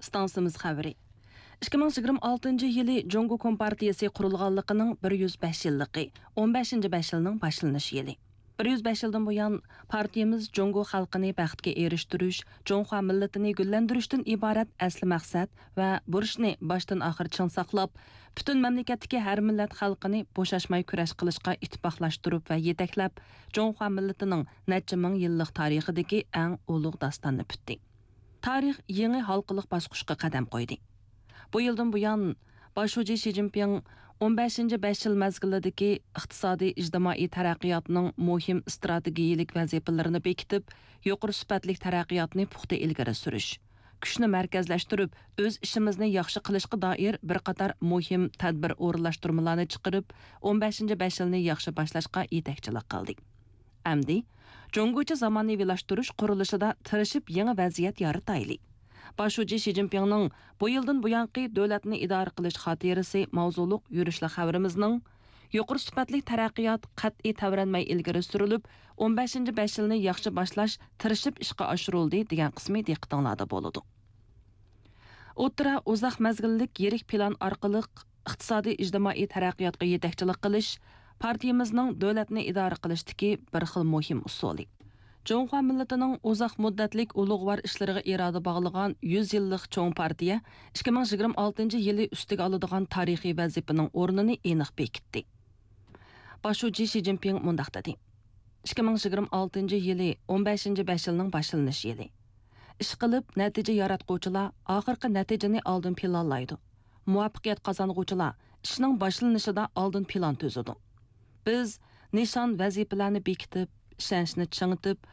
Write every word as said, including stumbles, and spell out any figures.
ئىستانسىمىز خەۋىرى. ئىككى مىڭ يىگىرمە ئالتىنچى يىلى جۇڭگو كومپارتىيىسى قۇرۇلغانلىقىنىڭ بىر يۈز بەش يىللىقى، ئون بەشىنچى بەش يىلنىڭ باشلىنىش يىلى. بىر يۈز بەش يىلدىن بۇيان، پارتىيىمىز جۇڭگو خەلقىنى بەختكە ئېرىشتۈرۈش، جۇڭخۇا مىللىتىنى گۈللەندۈرۈشتىن ئىبارەت ئەسلى مەقسەت ۋە بۇرچنى باشتىن ئاخىر چىڭ ساقلاپ، پۈتۈن مەملىكەتتىكى ھەر مىللەت خەلقىنى بوشاشماي كۈرەش قىلىشقا ئىتتىپاقلاشتۇرۇپ ۋە يېتەكلەپ، جۇڭخۇا مىللىتىنىڭ نەچچە مىڭ يىللىق تارىخىدىكى ئەڭ ئۇلۇغ داستاننى پۈتتى. تارىخ يېڭى ھالقىلىق باسقۇچقا قەدەم قويدى. بۇ يىلدىن بۇيان، باش شۇجى شى جىنپىڭ ئون بەشىنچى بەش يىل مەزگىلىدىكى ئىقتىسادىي، ئىجتىمائىي تەرەققىياتنىڭ مۇھىم ئىستراتېگىيەلىك ۋەزىپىلىرىنى بېكىتىپ، يۇقىرى سۈپەتلىك تەرەققىياتنى پۇختا ئىلگىرى سۈرۈش، كۈچنى مەركەزلەشتۈرۈپ، ئۆز ئىشىمىزنى ياخشى قىلىشقا دائىر بىر قاتار مۇھىم تەدبىر ئورۇنلاشتۇرمىلارنى چىقىرىپ، ئون بەشىنچى بەش يىلنى ياخشى باشلاشقا يېتەكچىلىك قىلدى. ئەمدى جۇڭگوچە زامانىۋىلاشتۇرۇش قۇرۇلۇشىدا تىرىشىپ يېڭى ۋەزىيەت يارىتايلى. باش شۇجى شى جىنپىڭنىڭ بۇ يىلدىن بۇيانقى دۆلەتنى ئىدارە قىلىش خاتىرىسى ماۋزۇلۇق يۈرۈشلۈك خەۋىرىمىزنىڭ يۇقىرى سۈپەتلىك تەرەققىيات قەتئىي تەۋرەنمەي ئىلگىرى سۈرۈلۈپ، ئون بەشىنچى بەش يىلنى ياخشى باشلاش تىرىشىپ ئىشقا ئاشۇرۇلدى دېگەن قىسمى دىققىتىڭلاردا بولىدۇ. ئوتتۇرا، ئۇزاق مەزگىللىك يىرىك پىلان ئارقىلىق ئىقتىسادىي، ئىجتىمائىي تەرەققىياتقا يېتەكچىلىك قىلىش پارتىيىمىزنىڭ دۆلەتنى ئىدارە قىلىشتىكى بىر خىل مۇھىم ئۇسۇلى. جۇڭخۇا مىللىتىنىڭ ئۇزاق مۇددەتلىك ئۇلۇغۋار ئىشلىرىغا ئىرادە باغلىغان يۈز يىللىق چوڭ پارتىيە ئىككى مىڭ يىگىرمە ئالتىنچى يىلى ئۈستىگە ئالىدىغان تارىخىي ۋەزىپىنىڭ ئورنىنى ئېنىق بېكىتتى. باش شۇجى شى جىنپىڭ مۇنداق دېدى: ئىككى مىڭ يىگىرمە ئالتىنچى يىلى ئون بەشىنچى بەش يىلنىڭ باشلىنىش يىلى. ئىشقىلىپ، نەتىجە ياراتقۇچىلار ئاخىرقى نەتىجىنى ئالدىن پىلانلايدۇ. مۇۋەپپەقىيەت قازانغۇچىلار ئىشنىڭ باشلىنىشىدا ئالدىن پىلان تۈزىدۇ. بىز نىشان، ۋەزىپىلەرنى بېكىتىپ، ئىشەنچنى چىڭىتىپ،